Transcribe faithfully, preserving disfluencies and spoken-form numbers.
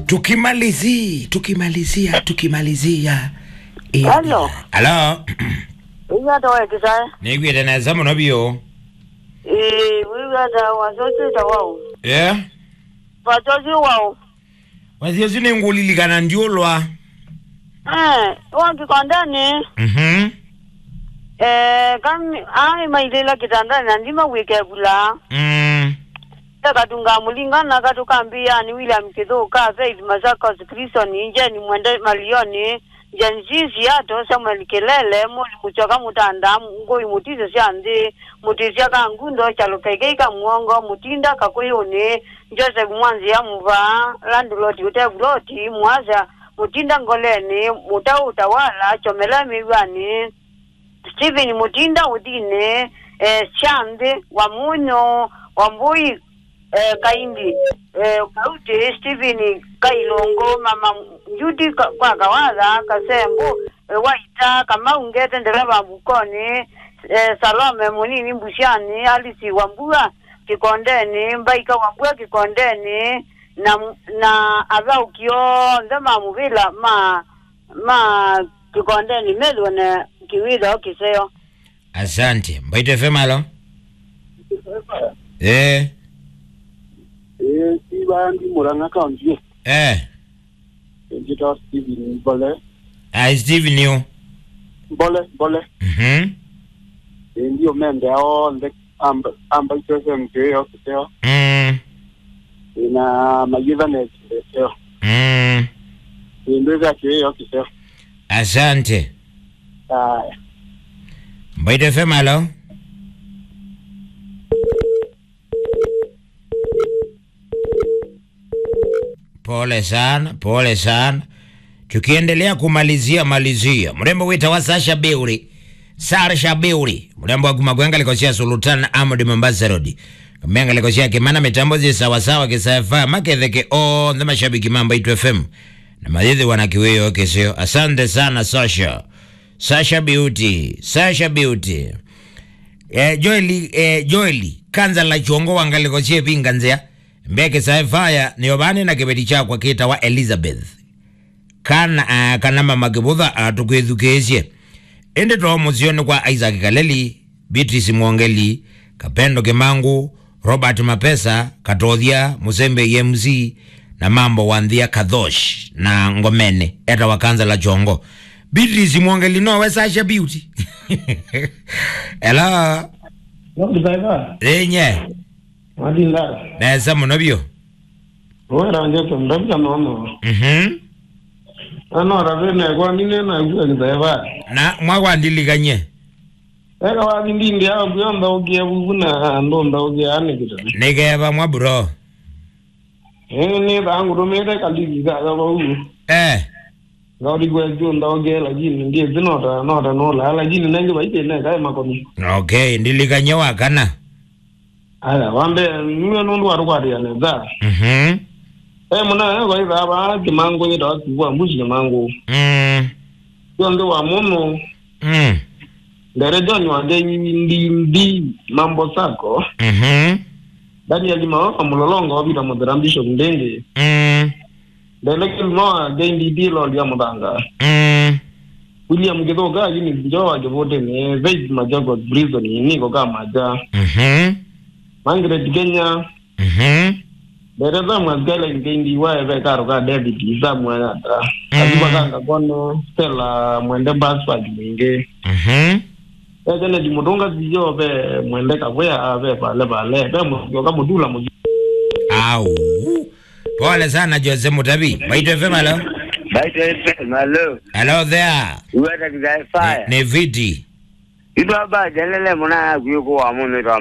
Tukimalizi, tukimalizia, tukimalizia. Eh, Hello. Hello. Ĩĩ, ata we Kĩsae? Nĩngwĩte nesa mũno biũ. Ĩĩ, wĩw'a ata wasya ũsu wĩtawa waũ? Yeah. Wasya ũsu waũ? Wasya ũsu nĩngũlilikana ndiũlwa. Eh, wa kĩkondenĩ. Mhm. Eh, kami, ai mailĩla kĩtandanĩ na ndima wĩkevula. Mm. Ekatunga mũlinga na katũkambĩĩa nĩ William Kĩthũka, Faith Masakos, Kristoni, Jeni Mwende Malioni, Jeni Sisi Ato, Samuel Kĩlele, Moli Mũsyoka Mũtanda, Ngũi Mũtiso sya Nthĩ, Mũtĩsya Kangundo, Kyalo Kaikai ka Mũongo, Mũtinda Kakũyũnĩ, Joseph Mwanzĩa Mũvaa, Landlord Ũtevuloti, Mwasya Mũtinda Ngolenĩ, Mũtaũ Ũtawala, Kyomela Mĩw'anĩ, Stephen Mũtinda Ũthinĩ, eh, Syanthĩ, Wamũnyũ, Wambũi, eh, Kaindi, eh, Kauti, Stephen Kailũngũ, Mama Judy Ka-, kwa Kawatha, Kasembu, eh, Waita, Kamau Ngete, ndereva Mbukoni, eh, Salome Mũnini Mbusyanĩ, Alice Wambua Kĩkondenĩ, Mbaika Wambua Kĩkondenĩ, na, na athaũki onthe ma mũvĩla ma ma kĩkondenĩ methĩwe na kĩwĩthao kĩseo. Asante. Mbaitũ F M, alo? Eh. Eh, si vaa ndi Murang'a County. Eh. Njĩtawa Steven Mbole. Ah, Steven yo. Mbole, Mbole. Mhm. Eh, ndio mende onthe. Amba, amba itwese mkĩwĩo kĩseo. Mm. Na mayĩtha nekĩseo. Mm. Ĩndwĩthĩa kĩwĩo kĩseo. Asante. Aya. Mbaitũ F M, alo? Pole sana, pole sana. Tukiendelea kumalizia, malizia. Mrembo wĩtawa Sasha Beauty. Sasha Beauty. Mrembo wa kuma kwa ngalĩko sya Sultan Ahmed Mombasa Road. Kamea ngalĩko sya Kĩmana, mĩtambo syĩ sawa sawa, Kĩsae F M, maketheke onthe mashabiki ma Mbaitũ F M. Na mayĩthĩwa na kĩwĩo kĩseo. Asante sana, Sasha. Sasha Beauty. Sasha Beauty. Eh, Joeli, eh, Joeli. Kanza la chongo wa ngalĩko sya Ĩvinga Nzĩa. Mbeke Sci-Fi nĩyo vaa nĩ na kĩveti kyakwa kĩtawa Elizabeth. Kana, ah, kana Mama Kĩvũtha, ah, tũkwĩthukĩĩsye. Ĩndĩ too mũseo nĩ kwa Isaac Kaleli, Beatrice Mwongeli, Kapendo Kĩmangũ, Robert Mapesa, Katothya, Mũsembe M C, na Mambo wa Nthia Kathosh, na Ngomene, etawa Kansala Chongo. Beatrice Mwongeli nowe Sasha Beauty? Hello? No, Sci-Fi. Ĩĩ nye. Matinda. Nesa mũno vyũ. Wera ngeto ndavya nono. Mhm. Ano ravene kwa nine na kwa kiteva. Na mwa kwa ndilikanye. Eka wa ndindi ya kwa nthaũkie vuvu na ndo nthaũkie ani kitani. Nikeva mwa bro. Eh, nĩ thangu tumite kaliki ka ka vau. Eh. Ngaũlikwa ĩsu nthaũkie, lakini ndiĩsĩ nota, nota nũlaa, lakini nengĩ vaitĩ nekae makoni. Okay, ndilikany'a wa kana. Aya, wa mbee, nĩwe nũndũ watũkwatĩa nesa. Mhm. E mũna, e kwaithaa vaa Kĩmangũ yĩtawa Kĩvua Mbusi Kĩmangũ. Mm. Syonthe wa mũno. Mm. Ndere John wa Ngendi, ndi, ndi, Mambo Sacco. Mhm. Daniel Maoka Mũlolongo, Peter Mũthera, Bishop Ndenge. Mm. Ndele Kĩlũma wa Ngendi, ndi, Lord ya Mũthanga. Mm. William Kĩthũka, Eunice Njoa Kĩvũtĩnĩ, Faith Machakos Prison, Niko Kamaja. Mhm. Margaret Kenya. Mhm. Ndereva mwasikali Ngendi wa eve karo ka David, Samuel Ata. Mm. Katuba ka Ngakone, Stella Mwende, Basford Mwingi. Mhm. E Janet Mutunga, Siyo ve Mwende Kavwea, ve Vale Vale, ve Musyoka Mutula Musyoka. Au. Pole sana, Jose Mutavi. Mbaitũ F M, hello? Mbaitũ F M, hello. Hello there. Uweta Kĩsae. Nĩ, nĩ Viti. Itwa ba jalele muna ya kuyuko wa munu itwa